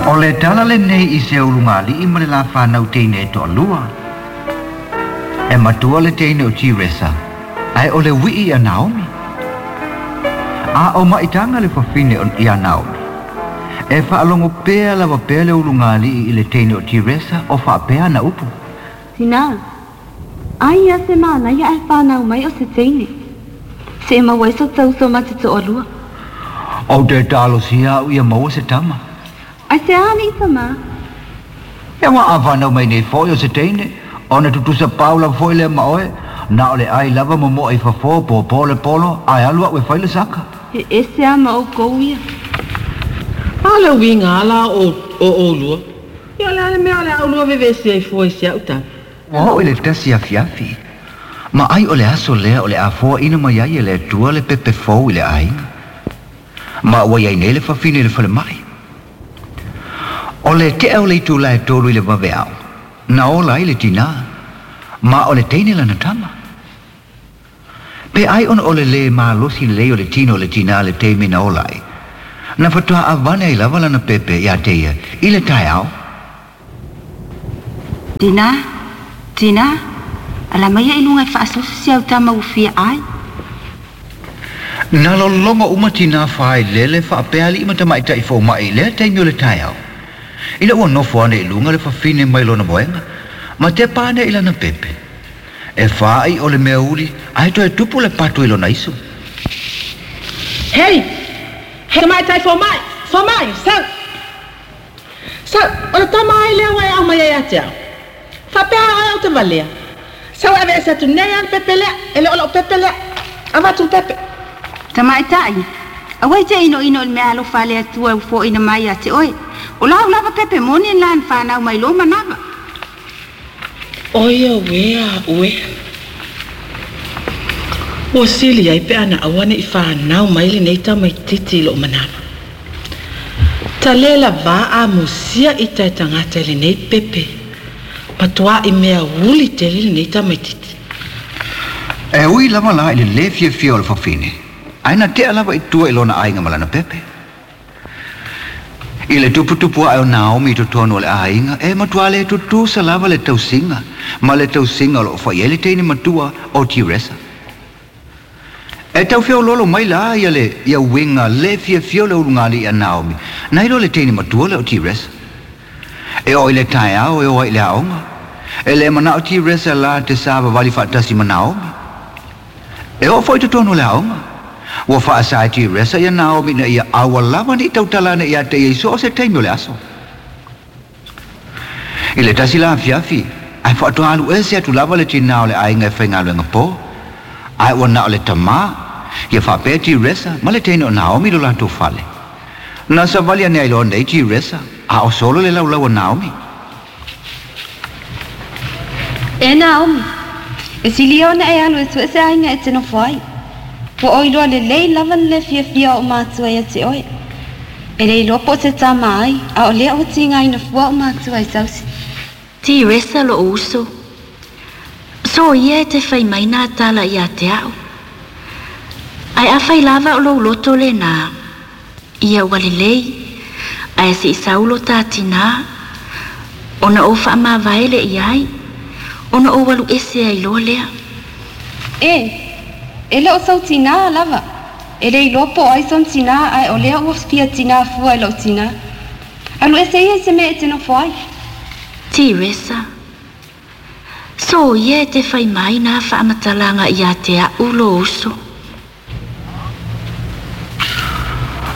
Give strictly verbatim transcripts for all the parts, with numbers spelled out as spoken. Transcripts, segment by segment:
O le tala lenei i se ulugalii ma le lafanau teine e toalua. E matua le teine o Tiresa, ae o le ui'i ia Naomi. A o maitaga le fafine ia Naomi. E faalogo pea lava pea le ulugalii i le teine o Tiresa o faapea ana upu. Tinā, ai ia se manaia ae fanau mai o se teine. Se maua ai so ta uso ma te toalua. Ou te talosia a'u ia maua se tama. Ai se a alii tamā? Ia ua a fanau mai nei fo'i o se teine, ona tutusa pau lava fo'i lea ma oe, na o le ai lava momo'a i fafo pōpō le polo, ae alu a'u e fai le saka. E ese a ma oukou ia. A le uiga a la o o oulua. Ia o le a le mea o le a oulua vevesi ai fua i si a'u tala? Ua oo i le tasi afiafi, ma ai o le aso lea o le a foaina mai ai e le Atua le pepe fou i le aiga. Ma ua iai nei le fafine i le falemai. O le tea o le itulā e tolu i le vaveao, na ola ai le tinā, ma o le teine lana tama. Pe ai ona o le lē malosi lelei o le tino o le tinā i le taimi na ola ai, na faatoa avane ai lava lana pepe iā te ia i le taeao. Tinā, tinā, ala maia i luga e faasoso si au tama ua fia ai. Na lologo uma tinā failele faapea alii ma tamaitai fomaʻi i lea taimi o le taeao. Ina ua nofo ane i luga le fafine mai lona moega, ma tepa ane i lana pepe. E fāʻi o le mea uli, ae toe tupu le pato i lona iso. Hei! Hei tamaitai fomai! Fomai! Sau! Sau! O le tama ai lea ua e aumai ai ia te au? Faapea oe ou te valea. Sau e aveese atu nei lava le pepe lea, e le o lou pepe lea. Avatu le pepe. Tamaitai, aua e te inoino i le meaalofa a le Atua ua foaina mai ia te oe. O lau lava pepe moni lena na fanau mai lou manava. Oi auē a'u e! Ua sili ai pe ana aua ne i fanau mai lenei tamaititi i lo'u manava. Ta lē lavā amusia ita e tagata i lenei pepe. Matua'i mea uli tele lenei tamaititi. E ui lava la i le lē fiafia o le fafine, ae na tea lava i tua i lona aiga ma lana pepe. I le tuputupu ae o Naomi i totonu o le aiga, e matuā le tutusa lava le tausiga ma le tausiga o loo fai ai le teine matua o Tiresa. E tau feoloolo mai la ia le ia uiga lē fiafia o le ulugalii a Naomi, nai lo le teine matua lea o Tiresa. E oo i le taeao e o ai i le aoga. E le manao Tiresa la te savavali faatasi ma Naomi. E oo foi i totonu o le aoga. Ua faasa e Tiresa ia Naomi ina ia aua lava ne i tautala ane ia te ia i so o se taimi o le aso. I le tasi la afiafi, ae faatoa alu ese atu lava le tinā o le aiga e faigaluega po. Ae ua na o le tamā, ia faapea Tiresa ma le teine o Naomi i lo latou fale. Na savali ane ai loa nei Tiresa, a o solo le laulau a Naomi. E Naomi, e sili ia ona e alu e sue se aiga e te nofo ai. Ua ou iloa lelei lava le lē fiafia o ou matua ia te oe. E le iloa po o se tama ai, a o lea ua tigaina fua ou matua i sausi. Tiresa lo'u uso. So ia e te fai mai nā tala ia te a'u. Ae afai lava o lou loto lenā, ia ua lelei, ae seʻi sau lo tā tinā, ona ou faamavae lea i ai, ona ou alu ese ai loa lea. E, e le o sou tinā lava. E le iloa po o ai sona tinā, ae o lea ua fia tinā fua i lou tinā. Alu ese ia i se mea e te nofo ai. Tiresa, So ia e te fai mai nā faamatalaga ia te a'u lo uso.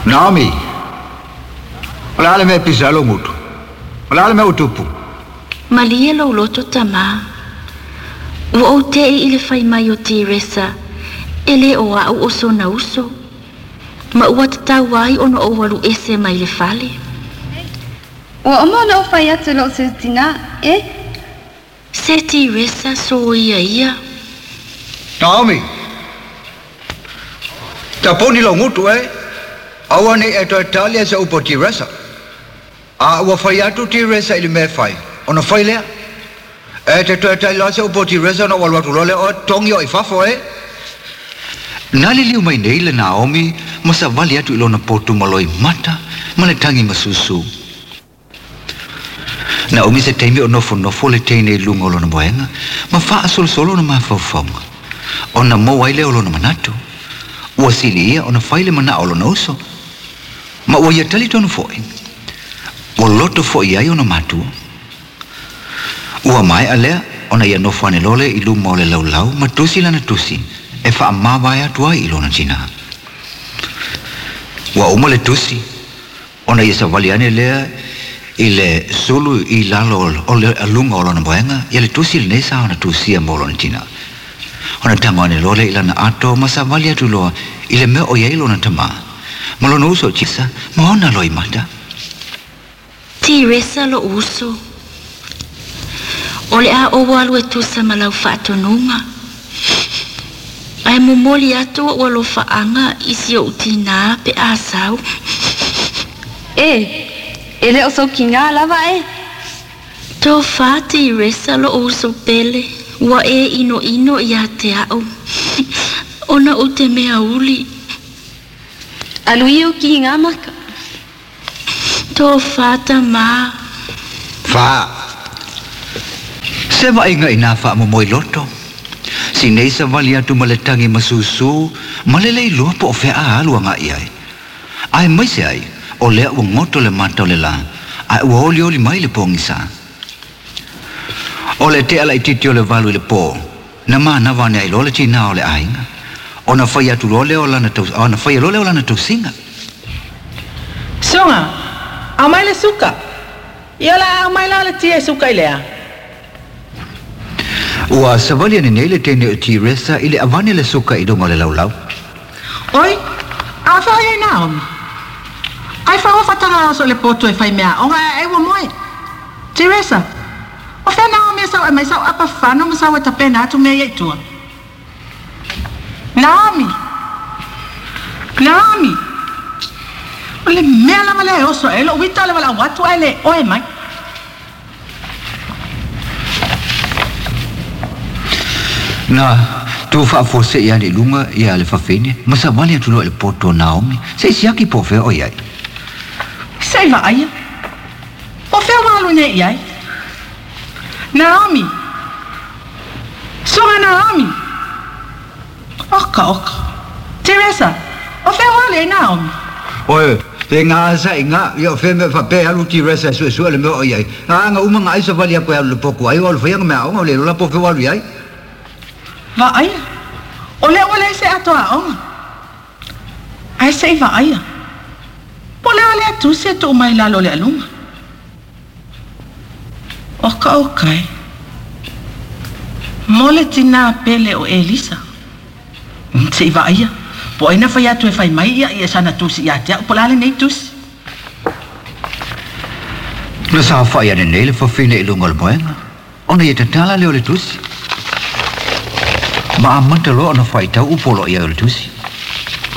Naomi, o le a le mea e pisa ai lou gutu? O le a le mea ua tupu? Malie lou loto tamā. Ua ou te'i i le fai mai o Tiresa e lē o a'u o sona uso, ma ua tatau ai ona ou alu ese mai le fale. Ua uma ona ou fai atu i lou seu tinā, e. Se Tiresa soia ia. Naomi, tapuni lou gutu e. Aua nei e toe tali ai se upu a Tiresa. A ua fai atu Tiresa i le mea e fai, ona fai lea. E te toe tali loa se upu a Tiresa ona ou alu atu loa lea oe, togi oe i fafo e. Na liliu mai nei le Naomi ma savali atu i lona potu maloi mata ma le tagi masusu. Na umi se taimi o nofonofo le teine i luga o lona moega, ma faasolosolo ona mafaufauga. Ona maua ai lea o lona manatu. Ua sili ia ona fai le manao o lona uso. Ma ua ia talitonu foi. Ua loto foi ai ona matua. Ua maea lea ona ia nofo ane loa lea i luma o le laulau ma tusi lana tusi e faamavae atu ai i lona tinā. Ua uma le tusi ona ia savali ane lea i le sulu i lalo o le aluga o lona moega ia le tusi lenei sa ona tusia mo lona tinā. Ona tago ane loa lea i lana ato ma savali atu loa i le mea o i ai lona tamā. Ma lona uso o Tisa ma ona loimata. Tiresa lo'u uso. O le a ou alu e tusa ma lau faatonuga. Ae momoli atu o'u alofaaga i si o'u tinā pe a sau. E, e le o soukigā lava e. Tofā Tiresa lo'u uso pele, ua e inoino iā te a'u. Ona ou te mea uli. Alu ia ou kigā maka. Tofā tamā. Fā. Se vaaiga i nā faamomoe loto. Si nei savali atu ma le tagi ma susū, ma le le iloa po o fea a alu aga'i ai. Aemaise ai, o lea ua goto le mata o le lā, ae ua olioli mai le pogisā. O le tea laitiiti o le valu i le pō, na manava ane ai loa le tinā o le aiga. Ona fai atu loa lea o lana taus, ona faia loa lea o lana tausiga. Suga, aumai le suka. Ia o le a aumai la o le tia e suka i le a? Ua savali ane nei le teine o Tiresa i le avane le suka i luga o le laulau. Oi, a fea o i ai Naomi? Ai fea ua faatagaga oso i le potu e fai meaaoga ae ai ua moe. Tiresa, o fea Naomi e sau e aumai sau apa fano ma sau e tapena atu mea ia i tua? Naomi! Naomi! O le mea lava lea e oso ae ai lo'u ita o le valaau atu ae le oe mai. Na tu faafuase'i ane i luga ia le fafine ma savali atu loa i le poto o Naomi se i siaki po o fea o i ai. Se i vaaia. Po o fea ua alu nei i ai? Naomi! Suga Naomi! Oka, oka. Teresa, o fea ua alu i ai Naomi? Oe, te gasa i ngā, ia o fea mea faapea e alu Teresa e suesue le mea o i ai. A aga uma nga ai savali aku e alu le poku ai, o alu faiga mea aoga, o le iloa la po o fea ua alu i ai. Vaaia. O lea ua leai se ato aoga. Ae se i vaaia. Po o le a lea tusi e tuu mai i lalo o le aluga. Oka oka e. Mo le tinā pele o Elisa. Se i vaaia. Po o ai na fai atu e fai mai ia i sana tusi ia te a'u po o le a lenei tusi. Na saofa'i ane nei le fafine i luga o le moega, ona ia tatala lea o le tusi. Ma amata loa ona faitau upu o lo o i ai o le tusi.